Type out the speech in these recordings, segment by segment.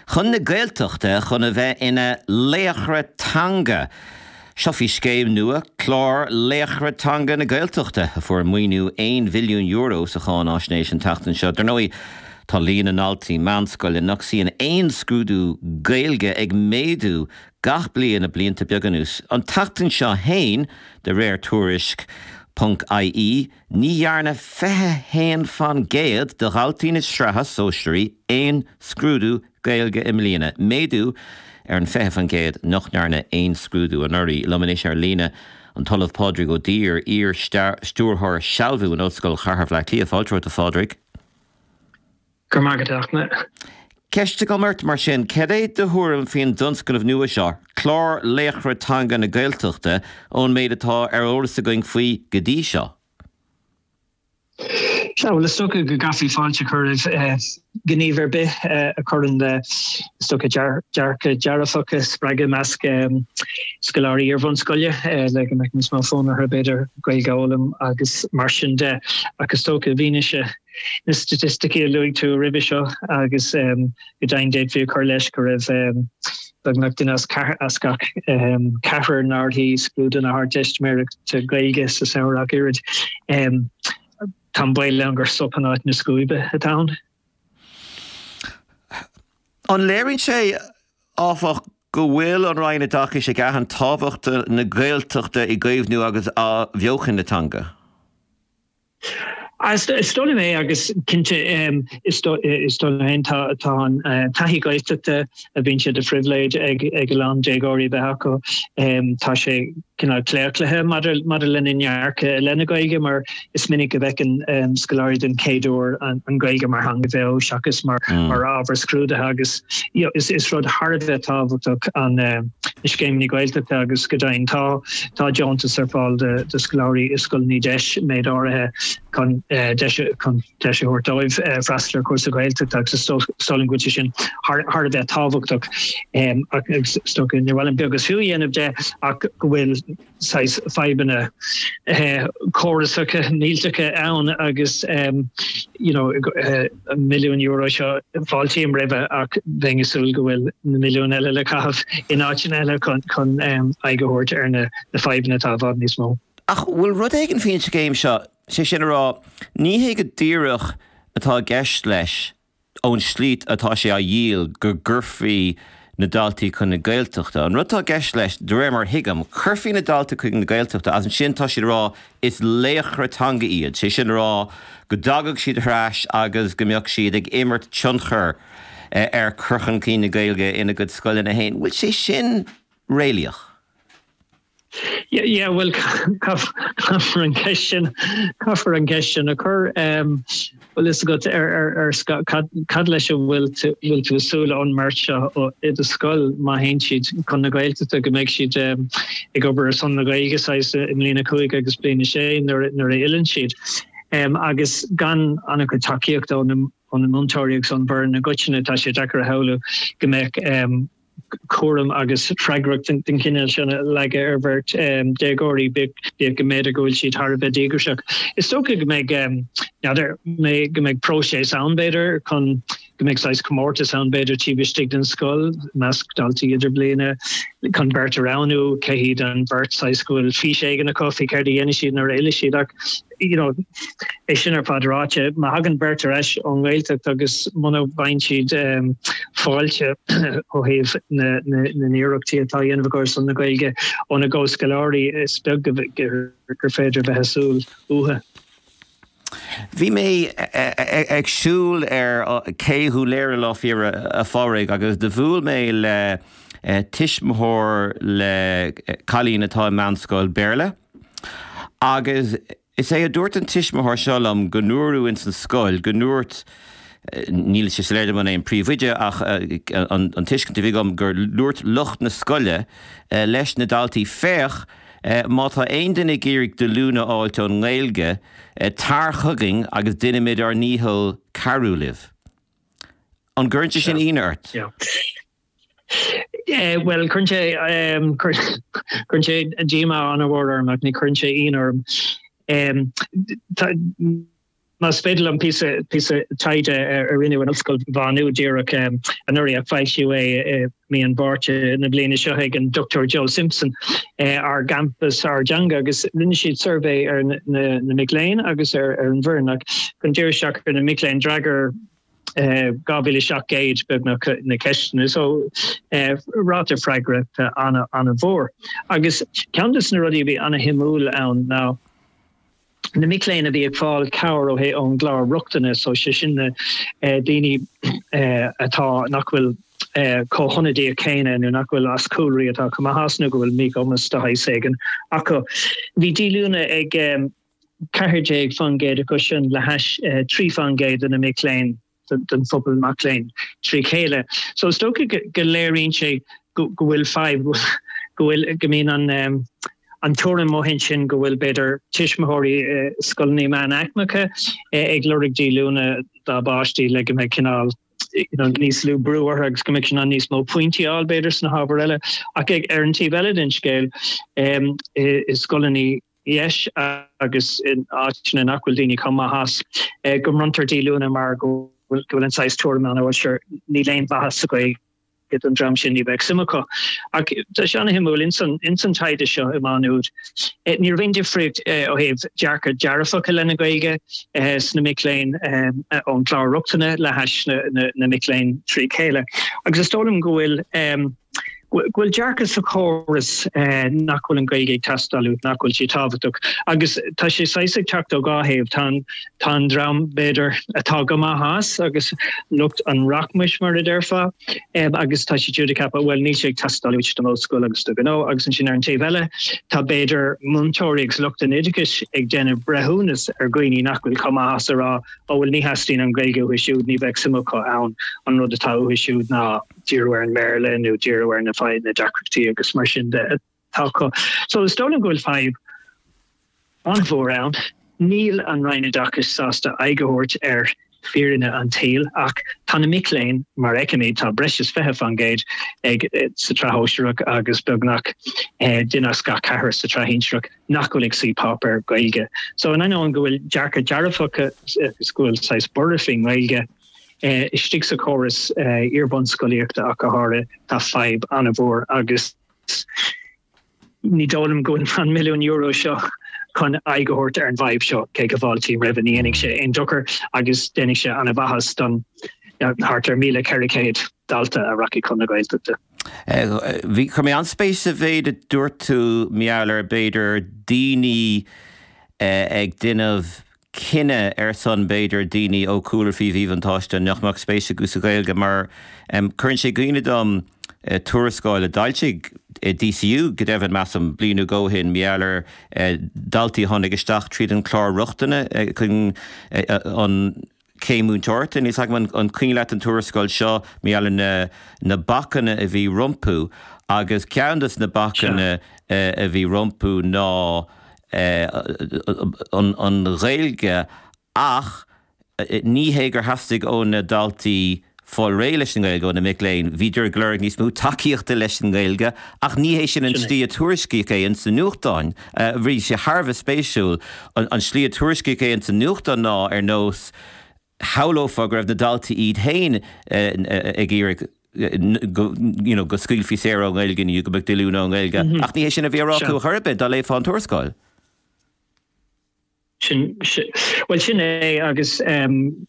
Chun na Gaeltachta chun a bheith ina laochra teanga. Seo faoi scéim nua, Clár Laochra Teanga na Gaeltachta, a fuair maoiniú €1 mhilliún sa cháinaisnéis an tseachtain seo. Dar ndóigh, tá líon na ndaltaí meánscoile nach suíonn aon scrúdú Gaeilge ag méadú gach bliain le blianta beaga anuas. An tseachtain seo fhéin, de réir tuairisc ponc ie, Ní dhearna 21% de dhaltaí na sraithe sóisearaí aon scrúdú Gaeilge i mbliana, méadú ar an 20% nach ndearna aon scrúdú anuraidh. Liom anois ar líne, an tOllamh Pádraig Ó Duibhir, iar-Stiúrthóir Sealbhú in Ollscoil Chathair Bhaile Átha Cliath. Fáilte romhat, a Phádraig. Go raibh maith agat, a Fhachtna. Ceist agam ort, mar sin, cad é do thuairim faoin dtionscnamh nua seo, Clár Laochra Teanga na Gaeltachta, ón méid atá ar eolas againn faoi go dtí seo? Sea, bhuel, is dócha go gcaithfí fáilte a chur roimh ghníomh ar bith a chuireann le, is dócha, dearcadh dearfach a spreagadh i measc scoláirí iar-bhunscoile le go mbeadh níos mó fonn orthu, b'fhéidir, Gaeilge a fhoghlaim agus mar sin de. Ach is dócha, i bhfianaise na staitisticí a luaigh tú roimhe seo agus go deimhin d'fhéadfaí a chur leis go raibh beagnach duine as gach ceathrar nár shuigh scrúdú na hArdteistiméireachta Gaeilge sa samhradh ach oiread. Tá an baol ann gur sop in áit na scuaibe atá ann. An léiríonn sé, áfach, go bhfuil an Roinn Oideachais ag aithint tábhacht na Gaeltachta i gcaomhnú agus athbheochan na teanga? Is dóigh liom é agus cinnte is dóigh liom féin tá an taithí Gaeltachta a bhíonn sé de phribhléid ag a lán déagóirí a bheith acu, tá sé cineál claochlaithe maidir lena ndearcadh i leith na Gaeilge mar is minic go bhfeiceann scoláirí den chéad uair an Ghaeilge mar theanga bheo seachas mar ábhar scrúdaithe agus is rud thar a bheith tábhachtach an na scéimeanna Gaeltachta agus go deimhin tá tá deontas ar fáil do scoláirí i scoileanna deis méid áirithe chun deis chun deis a thabhairt dóibh freastal ar chúrsa Gaeltachta agus is dóigh liom go bhfuil sé sin thar thar a bheith tábhachtach agus is dócha níor mhaith liom beag is fiú a dhéanamh de ach go bhfuil saghas fadhbanna córasacha millteacha ann agus you know an milliún euro seo fáiltím roimhe ach bheinn ag súil go bhfuil na milliúin eile le caitheamh in áiteanna eile chun chun aghaidh a thabhairt ar na fadhbanna atá i bhfad níos mó. Ach bhfuil rud éigin faoin scéim seo, sé sin a rá, ní hé go díreach atá i gceist leis ón slí atá sé á dhíol go gcuirfí na daltaí chun na Gaeltachta. An rud atá i gceist leis, de réir mar a thuigim, chuirfí na daltaí chuig na Gaeltachta agus ansin tá siad ag rá is laochra teanga iad, sé sin a rá go dtagadh siad ar ais agus go mbeadh siad ag imirt tionchar ar chur chun cinn na Gaeilge ina gcuid scoileanna féin. Bhfuil sé sin réalaíoch? Yeah, bhuel, caithfear an cheist sin, caithfear an cheist sin a chur. Bhfuil fhios agat ar ar cad cad leis a bhfuil tú bhfuil tú ag súil ón mbeirt seo i do scoil má théann siad chun na Gaeltachta go mbeidh siad ag obair ar son na Gaeilge saghas i mbliain a 5 agus bliain a 6 nuair nuair a fhilleann siad. Agus gan an-chuid tacaíochta ó na ó na múinteoirí agus ón bhfoireann i gcoitinne tá sé deacair a shamhlú go mbeadh cúram agus freagracht den chineál sin a leagadh ar bheirt déagóirí, bíodh go mb'fhéidir go bhfuil siad thar a bheith díograiseach. Is dócha go mbeidh, n'fheadar, go mbeidh próiseas ann, b'fhéidir, chun go mbeidh saghas comórtas ann, b'fhéidir, taobh istigh den scoil, i measc daltaí idirbliana, chun beirt a roghnú, cé hiad an bheirt saghas go bhfuil fís éigin acu faoi céard a dhéanfaidh siad nuair a fhillfidh siad. Ach you know, é sin ar fad ráite, má thagann beirt ar ais ón nGaeltacht agus muna bhfaigheann siad fáilte ó thaobh na n-iarrachtaí atá á dhéanamh acu ar son na Gaeilge óna gcomhscoláirí, is beag gur féidir a bheith ag súil uathu. Bhí mé ag siúl ar Cé Dhún Laoghaire lá fíor a Phádraig agus do bhuail mé le tuismitheoir le cailín atá i meánscoil Béarla. Agus is é a dúirt an tuismitheoir seo liom go ndúradh ins an scoil, go ndúirt, níl sé soiléir dom an é an príomhoide ach an tuiscint a bhí agam gur dúirt lucht na scoile leis na daltaí, féach, má tá aon duine ag iarraidh díolúine a fháilt ón nGaeilge, tar chugainn agus déanfaimid ár ndícheall cabhrú libh. An gcuireann sé sin ionadh ort? Bhuel, cuireann sé, cuireann sé díomá an-mhór orm ach ní chuireann sé ionadh orm. Más féidir liom píosa píosa taighde a rinneadh in Ollscoil Mhá Nuad díreach anuraidh ach foilsíodh é i mí an Mhárta na bliana seo ag an Dr Joel Simpson, Ár gCampas, Ár dTeanga agus rinne siad suirbhé ar na mic léinn agus ar an bhfoireann ach chun díriú isteach ar na mic léinn d'fhreagair 2,700 beagnach na ceisteanna so ráta freagrachta an-mhór. Agus ceann de na rudaí a bhí an-shuimiúil ann ná, na mic léinn a bhí ag fáil cabhair ó thaobh ón gclár rochtana, so sé sin na daoine atá, nach bhfuil chomh hionadaíoch céanna nó nach bhfuil as cúlraí atá chomh maith as nó go bhfuil míchumas de shaghas éigin acu. Bhí díolúine ag 14% acu sin le hais 3% de na mic léinn. den phobal mac léinn trí chéile. So is dócha go léiríonn sé go bhfuil fadhb, go bhfuil, go mbíonn an an tuairim amuigh ansin go bhfuil b'fhéidir tuismitheoirí i scoileanna meánaicmeacha ag lorg díolúine dá bpáistí le go mbeidh cineál you know níos lú brú orthu agus go mbeidh siad in ann níos mó pointí a fháil b'fhéidir sna hábhair eile. Ach ar an taobh eile den scéal i scoileanna dheis agus in áiteanna nach bhfuil daoine chomh maith as, go mbronntar díolúine mar go bhfuil an saghas tuairim ann, bhuel sure, níl aon mhaitheas sa Ghaeilge don dream sin, ní bheadh suim acu. Ach tá sé an-shuimiúil, ins an taighde seo i Má Nuad, ní raibh aon difríocht ó thaobh dearcadh dearfach i leith na Gaeilge sna mic léinn ón gclár rochtana le hais na mic léinn trí chéile. Agus is dóigh liom go bhfuil. go bhfuil dearcadh sa chóras nach bhfuil an Ghaeilge ag teastáil uait, nach bhfuil sí tábhachtach. Agus tá sé saghas ag teacht ó dhá thaobh. Tá an, tá an dream, b'fhéidir, atá go maith as agus lucht an rachmais, mar a déarfá, agus tá siad siúd ag ceapadh, bhuel, níl sé ag teastáil uait don ollscoil agus do ghnó. Agus ansin ar an taobh eile, tá b'fhéidir múinteoirí agus lucht an oideachais ag déanamh breithiúnas ar dhaoine nach bhfuil chomh maith as a rá, ó bhuel, ní theastaíonn an Ghaeilge uathu siúd, ní bheadh suim acu ann, an rud atá uathu siúd ná. díriú ar an mBéarla nó díriú ar na fadhb, na deacrachtaí agus mar sin de atá acu. So is dóigh liom go bhfuil fadhb an-mhór ann. Níl an Roinn Oideachais sásta aghaidh a thabhairt ar fírinne an tsaoil ach tá na mic léinn, mar a fheicimid, tá breis is 20% ag sa tsraith shóisearach agus beagnach duine as gach ceathrar sa tsraith shinsearach nach bhfuil ag suí páipéar Gaeilge. So in ainneoin go bhfuil dearcadh dearfach agus go bhfuil saghas borradh faoin nGaeilge, Istigh sa chóras iar-bhunscolaíochta ach go háirithe, tá fadhb an-mhór agus ní dóigh liom go bhfuil an milliún euro seo chun aghaidh a thabhairt ar an bhfadhb seo, cé go bhfáiltím roimhe. Ní dhéanfaidh sé aon dochar agus déanfaidh sé an-mhaitheas don thart ar 1,400 dalta a rachaidh chun na Gaeltachta. Bhí, chuir mé an-spéis sa mhéid a dúirt tú, mar gheall ar, b'fhéidir, daoine ag déanamh cinneadh ar son, b'fhéidir, daoine ó chúlra faoi mhíbhuntáiste nach mbeadh spéis acu sa Ghaeilge mar cuireann sé i gcuimhne dom tuarascáil a d'fhoilsigh DCU, go deimhin, measaim, bliain nó dhó ó shin, mar gheall ar dhaltaí a tháinig isteach tríd an chlár rochtana chun an chéim múinteoireachta. Níl 's agam an cuimhin leat an tuarascáil seo, mar gheall ar na bacanna a bhí rompu agus ceann de na bacanna a bhí rompu ná an Ghaeilge ach ní hé gur theastaigh ó na daltaí fáil réidh leis an nGaeilge, ó na mic léinn, bhíodar ag lorg níos mó tacaíochta leis an nGaeilge ach ní hé sin an tslí a tuairiscíodh é ins na nuachtáin. Bhí sé thar a bheith spéisiúil. An tslí a tuairiscíodh é ins na nuachtáin ná ar nós shamhlófá go raibh na daltaí iad féin ag iarraidh go you know go scaoilfí saor ón nGaeilge nó go mbeadh díolúine ón nGaeilge ach ní hé sin a bhí á rá acu ar chor ar bith dá léifeá an tuarascáil. Sin, bhuel sin é agus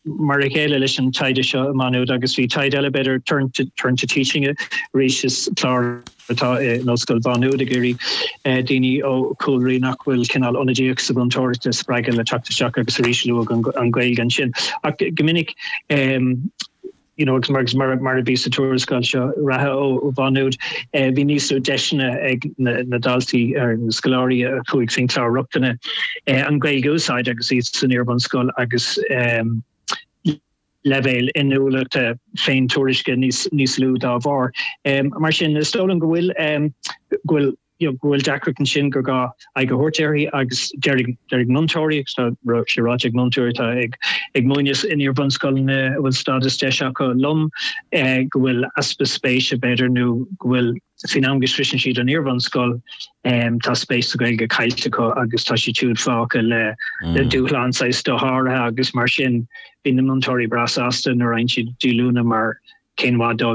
mar a chéile leis an taighde seo i Má Nuad agus bhí taighde eile b'fhéidir Turn to, Turn to Teaching arís is clár atá in Ollscoil Mhá Nuad ag iarraidh daoine ó chúlraí nach bhfuil cineál ionadaíoch sa mhúinteoireacht a spreagadh le teacht isteach agus arís luadh an Ghaeilge ansin. Ach go minic you know agus mar mar a bhí sa tuarascáil seo reatha ó Mhá Nuad bhí níos lú deiseanna ag na daltaí ar na scoláirí a chuaigh faoin chlár rochtana an Ghaeilge a úsáid agus iad san iarbhunscoil agus leibhéil inniúlachta féintuairisce níos lú dá bharr. Mar sin, is dóigh liom go bhfuil go bhfuil. you know, go bhfuil deacracht ansin gur gá aghaidh a thabhairt uirthi agus déarfaidh múinteoirí, agus tá sé ráite ag múinteoirí atá ag ag múineadh in iar-bhunscoileanna a bhfuil stádas deis acu liom, go bhfuil easpa spéise b'fhéidir nó go bhfuil faoin am go sroiseann siad an iar-bhunscoil tá spéis sa Ghaeilge caillte acu agus tá siad siúd fágtha le le dúshlán saghas dosháraithe agus mar sin bíonn na múinteoirí breá sásta nuair a fhaigheann siad díolúine mar cén mhaith dóibh.